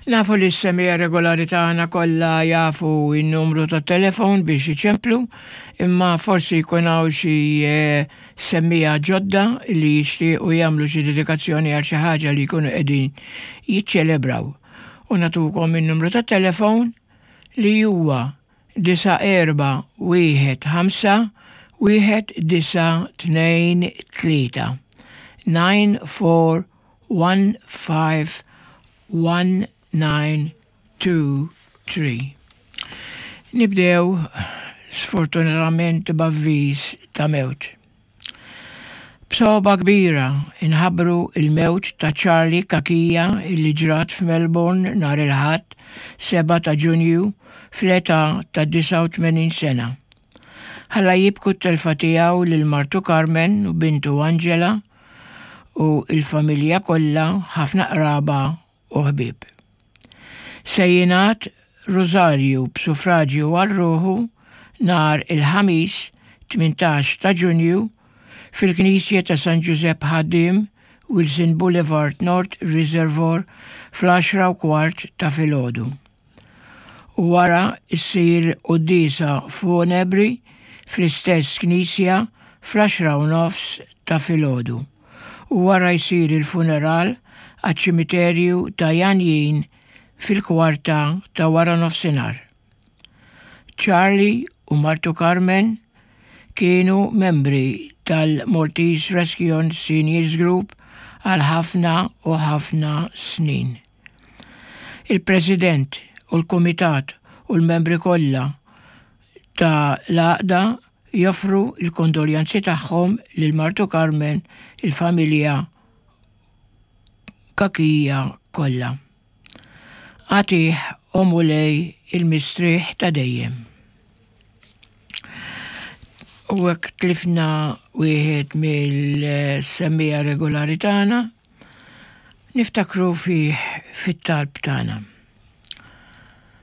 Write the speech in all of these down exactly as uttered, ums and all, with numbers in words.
Nafu li s-semmiegħa regolari tagħna kollha jafu n-numru ta' telefon biex iċemplu, imma forsi jkun hawn xi eh, semmiegħa ġodda li jixtiequ jagħmlu xi dedikazzjoni għal xi ħaġa li jkunu qegħdin jiċċelebraw. U nagħtukom in-numru ta' telefon li huwa disa' erba' wieħed ħamsa wieħed disa' tnejn tlieta. nine four one five one nine two three. Nibdew sfortunatament b'avviż ta' mewt. B'sogħba kbira inħabbru il-mewt ta' Charlie Cachia illi ġrat f'Melbourne nhar il-Ħadd sebgħa ta' Ġunju fl-età ta' disgħa u tmenin sena. Ħalla jibku t-telfa tiegħu lil martu Carmen u bintu Angela u il-familja kollha, ħafna qraba u ħbieb. Se jingħad Rosarju b'suffraġju għal ruħu nhar il-Ħamis tmintax ta' Ġunju fil-Knisja ta' San Ġużepp Ħaddiem, Wilson Boulevard North Reservoir fl-għaxra u kwart ta' filgħodu. U wara ssir quddiesa funebri fl-istess knisja fl-għaxra u nofs ta' filgħodu. U wara jsir il-funeral għaċ-ċimiterju ta' Janjin fil-kwarta ta' wara nofsinhar. Charlie u martu Carmen kienu membri tal-Maltese Rescue Seniors Group għal ħafna u ħafna snin. Il-President u l-Kumitat u l-membri kollha ta' l-għaqda joffru il-kondoljanzi tagħhom lil martu Carmen, il-familja Cachia kollha. Agħtih, o Mulej, il-mistrieħ ta' dejjem. U hekk tlifna wieħed mill-semmiegħa regolari tagħna, niftakru fih fit-talb tagħna.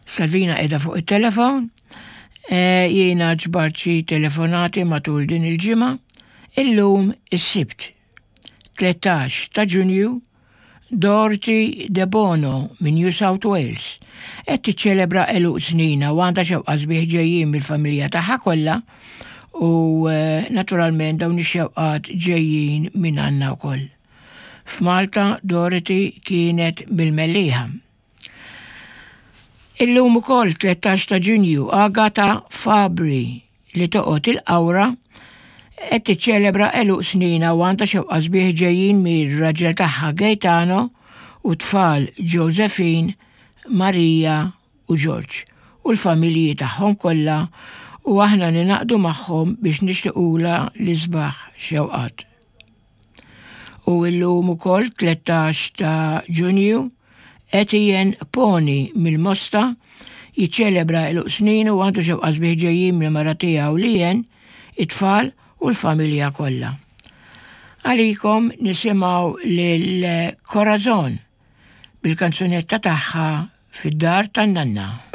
Salvina qiegħda fuq it-telefon, e, jiena ġbart xi telefonati matul din il-ġimgħa, illum is-Sibt, tlettax ta' Ġunju, Dorothy De Bono minn New South Wales qed tiċċelebra għeluq snina u għandha xewqa sbieħ ġejjin mill-familja tagħha kollha u, eh, naturalment dawn ix-xewqat ġejjin minn għandna wkoll. F'Malta Dorothy kienet mill-Mellieħa. Illum ukoll tlettax ta' Ġunju Agata Fabri li toqgħod il-Qawra qed tiċċelebra għeluq snina u għandha xewqa sbieħ ġejjin mir-raġel tagħha Gaetano u tfal Josephine, Maria u George u l-familji tagħhom kollha u aħna ninaqdu magħhom biex nixtiequla l-isbaħ xewqat. U illum ukoll tlettax ta' Ġunju Etienne Poni mill-Mosta jiċċelebra għeluq snin u għandu xewqa sbieħ ġejjin mill-mara tiegħu Lien, it-tfal u l-familja kollha. Għalikom nisimgħu lil Corazon bil-kanzunetta tagħha Fid-Dar tan-Nanna.